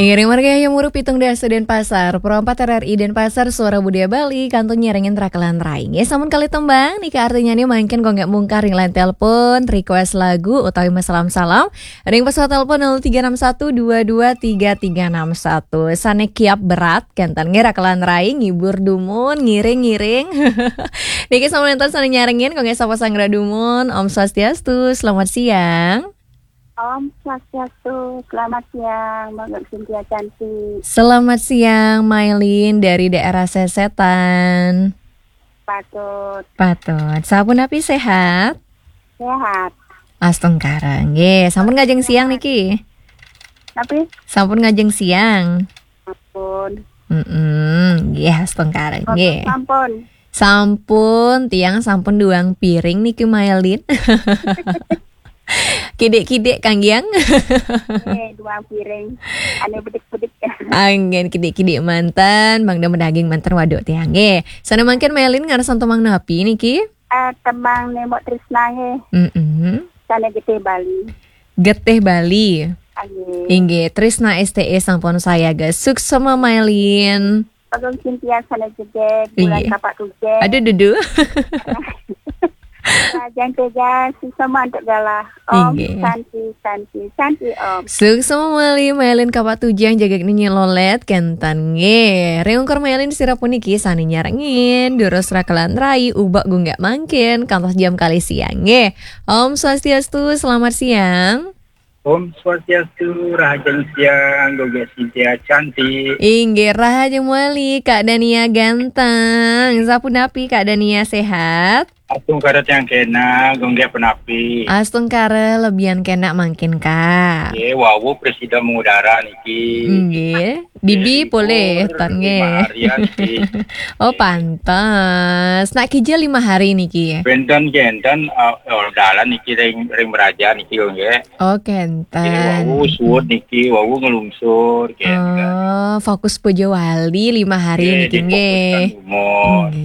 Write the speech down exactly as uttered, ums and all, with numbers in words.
Ngiring margi Hayam Wuruk pitung dasa Denpasar, Pro empat R R I Denpasar, Suara Budaya Bali, kantun nyarengin Rakelan Rai. Nggih, sampun kalih tembang, niki artinya nih mangkin kok nggak mungkar ring line telepon, request lagu, utawi masalam-salam, ring pesawat telepon nol tiga enam satu dua dua tiga tiga enam satu. Sane kiap berat, kenten nggih Rakelan Rai, ngibur dumun, ngiring-ngiring. Niki sampun enten sane nyarengin, kok nggih sapa sanggra dumun, Om Swastiastu, selamat siang. Om Swastiastu, selamat siang, Mbak Cynthia cantik. Selamat siang, Mailin dari daerah Sesetan. Patut. Patut. Sampun napi sehat? Sehat. Astungkara, nggih. Sampun ngajeng siang niki? Napi? Sampun ngajeng siang. Sampun. Mm-mm, nggih, astungkara, nggih. Sampun. Sampun, tiang sampun duang piring niki, Mailin. Kidik-kidik, Kang Giang. Eh, duang piring. Ane bedik-bedik. Anggen kidik-kidik manten, mangda medaging manten waduk tiang. Nggih. Sane mangkin Mailin ngarsan tembang napi niki? Eh, tembang Nemok Trisna nggih. Mm-mm. Sane Getih Bali. Getih Bali. Nggih. Inggih, Trisna S T E sampun sayaga. Suksma Mailin. Agung Cynthia sane jeget, bulan Inggih. Kapak Tujeng. Aduh, dudu. Rajang Teja, sesama untuk galah. Om Inggih. Santi, Santi, Santi Om. Suksma malih Mailin Kapak Tujeng jaga niki lolet kenten nggih. Ring ungkur Mailin sira puniki sane nyarengin, durus Rakelan Rai, ubak gunggak mangkin, kantos jam kalih siang nggih. Om Swastiastu, selamat siang. Om Swastiastu, rahajeng siang, Gung Cynthia cantik. Inggih, rahajeng malih, Kak Dania ganteng. Sapunapi, Kak Dania, sehat? Astungkara tiang kena, Gung penapi. Astungkara lebihan kena mangkin, Kak. Nggih, wau presida mengudara niki. Nggih. Dibi Nggih, polih, libur tan nggih. Lima hari ya niki. Oh, pantes. Nak kija lima hari niki. Benten kenten, eh, oh, dalan niki ring, ring meraja niki, Gung. Oh, kenten. Nggih, wau suud niki, wau ngelungsur, nggih. Oh, fokus puja wali lima hari Nggih, niki, nggih. Difokuskan umur. Nggih.